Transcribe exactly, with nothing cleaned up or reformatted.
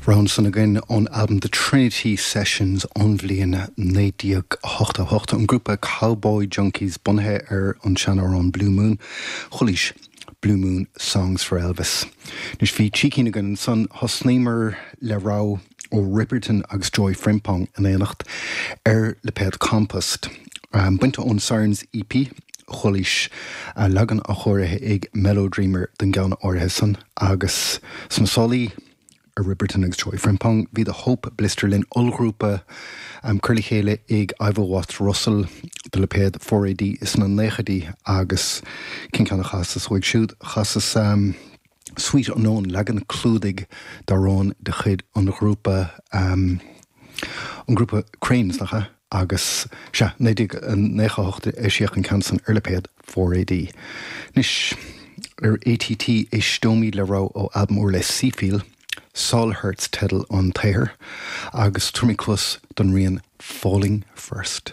Rogha ansan againn ón albam The Trinity Sessions ón bhliain naoi déag ochtó hocht, an grúpa Cowboy Junkies, bunaithe ar an seanamhrán Blue Moon. Chualaís Blue Moon Songs for Elvis. Anois bhí trí cinn againn ansan. Thosnaíomar le rogha ó Ribberton agus Joy Frimpong in éineacht ar lipéad Compost. Bainte ón Sirens E P, chualaís leagan athchóirithe ag Mellow Dreamer den gceann áirithe san, agus sna sálaí ar Ribberton agus Joy Frimpong bhí The Hope Blister linn, ollghrúpa um, curtha le chéile ag Ivor Watts Russell do lipéad four A D sna naochaidí, agus cén ceann a chasas uaidh siúd? Chasas um, Sweet Unknown, leagan clúdaigh d'amhrán de chuid an ghrúpa um, an grúpa Cranes, nach ea? Agus sea, naoi déag nócha hocht eisíodh an ceann san ar lipéad four A D. Anois ar A T T éisteoimid le rogha ó albam úr le Seefeel. Saul Hertz teideal an tsaothair, agus tabharfaimid cluas don rian Falling First.